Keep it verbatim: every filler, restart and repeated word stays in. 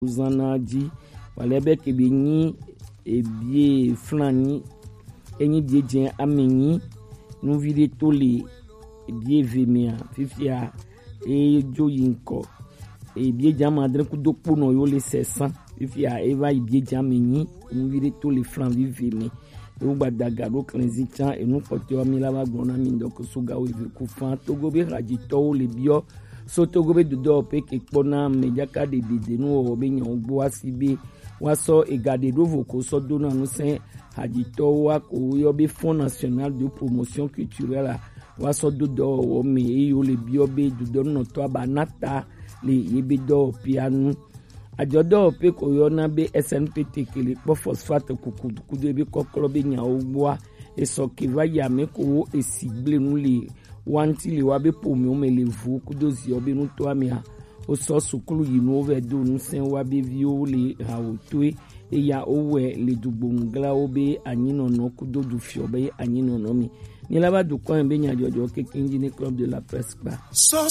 zan na ji. Wale be ke be nyi ebie flan nyi, enyi bie jɛ ame nyi, nuvi ɖe to le ebie ve mea, fifia edzo yi ŋkɔ. Ebie jɛ ame adre kudo kponɔ yo le sɛsan. Fifia eva yi bie jɛ ame nyi, nuvi ɖe to le flan vive me. Ewo gbadaga ɖo klɛnzi can, enu kpɔtɔa mi la va gblɔ na mi ŋdɔ ko so gawo eve ku fan. Togo be hadzitɔwo le biɔ so Togo be dodɔ pe ke kpɔ na me jaka ɖe dede nu wɔwɔ be nyawo gbɔ asi be wa sɔ ega ɖe ɖo vo ko sɔ do na nu sɛ hadzitɔwo wa ko yɔ be Fonds National de Promotion Culturelle a, wa sɔ do dɔwɔwɔ me eye wo le biɔ be dodɔnunɔtɔa ba na ta le ye be dɔwɔpea nu. Adzɔdɔwɔƒe ko yɔna be S N P T ke le kpɔ phosphate kuku kudo ebe kɔklɔ be nyawo gbɔa, esɔ ke va yi ame ko wo esi gble nu le wa ŋuti le wa be ƒomewo me le vu kudo ziɔ be nutoa mea, wosɔ suklu yi nuwo vɛ do ŋusẽ wa be viwo le hawo toe eya wowɛ le dugbonu glawo be anyinɔnɔ kudo dufiɔ be anyinɔnɔ me. Ni la va dukɔ be nyadzɔdzɔ keke ŋdi ne Club de la Presse kpa.